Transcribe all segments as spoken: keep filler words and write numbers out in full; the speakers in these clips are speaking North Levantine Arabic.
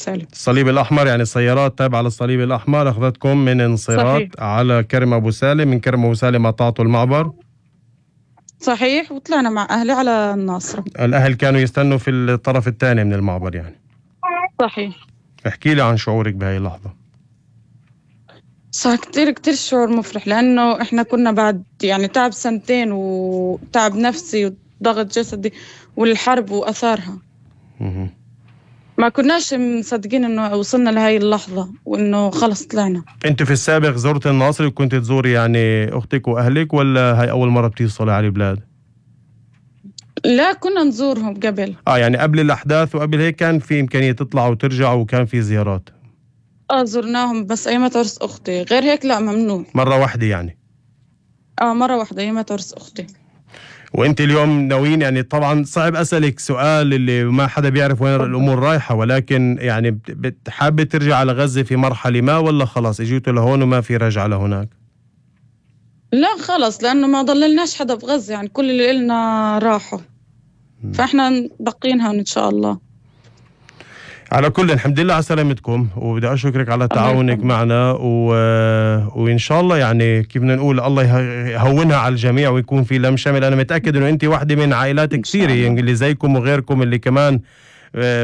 سالم. الصليب الأحمر يعني سيارات تابعة للصليب الأحمر أخذتكم من انصراط صحيح. على كرم أبو سالم، من كرم أبو سالم قطعتوا المعبر؟ صحيح، وطلعنا مع أهلي على الناصرة. الأهل كانوا يستنوا في الطرف الثاني من المعبر يعني؟ صحيح. احكي لي عن شعورك بهاي اللحظة. صار كتير كتير شعور مفرح، لأنه إحنا كنا بعد يعني تعب سنتين وتعب نفسي وضغط جسدي والحرب وأثارها. مه. ما كناش مصدقين إنه وصلنا لهاي اللحظة وإنه خلص طلعنا. أنت في السابق زرت الناصري وكنت تزوري يعني أختك وأهلك، ولا هاي أول مرة بتوصلي على البلاد؟ لا، كنا نزورهم قبل. آه يعني قبل الأحداث وقبل هيك كان في إمكانية تطلعوا وترجعوا وكان في زيارات؟ آه زرناهم بس أيام عرس أختي، غير هيك لا، ممنوع. مرة واحدة يعني؟ آه مرة واحدة أيام عرس أختي. وانت اليوم ناويين، يعني طبعا صعب اسالك سؤال اللي ما حدا بيعرف وين الامور رايحه، ولكن يعني بتحابه ترجع على غزه في مرحله ما، ولا خلاص اجيتوا لهون وما في رجعه لهناك؟ لا خلص، لأنه ما ضللناش حدا بغزة، يعني كل اللي إلنا راحوا، فإحنا باقيين هون إن شاء الله. على كل الحمد لله على سلامتكم، وبدي أشكرك على تعاونك معنا و... وإن شاء الله يعني كيف بدنا نقول الله يهونها على الجميع ويكون في لم شمل. أنا متأكد إنه أنت واحدة من عائلات كثيرة يعني اللي زيكم وغيركم اللي كمان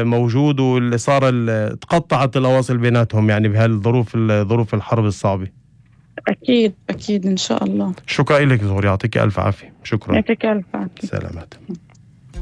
موجود، واللي صار تقطعت الأواصل بيناتهم يعني بهالظروف ظروف الحرب الصعبة. أكيد أكيد إن شاء الله. شكرا لك زهور، يعطيك ألف عافية. شكرا. يعطيك ألف عافية. سلامات.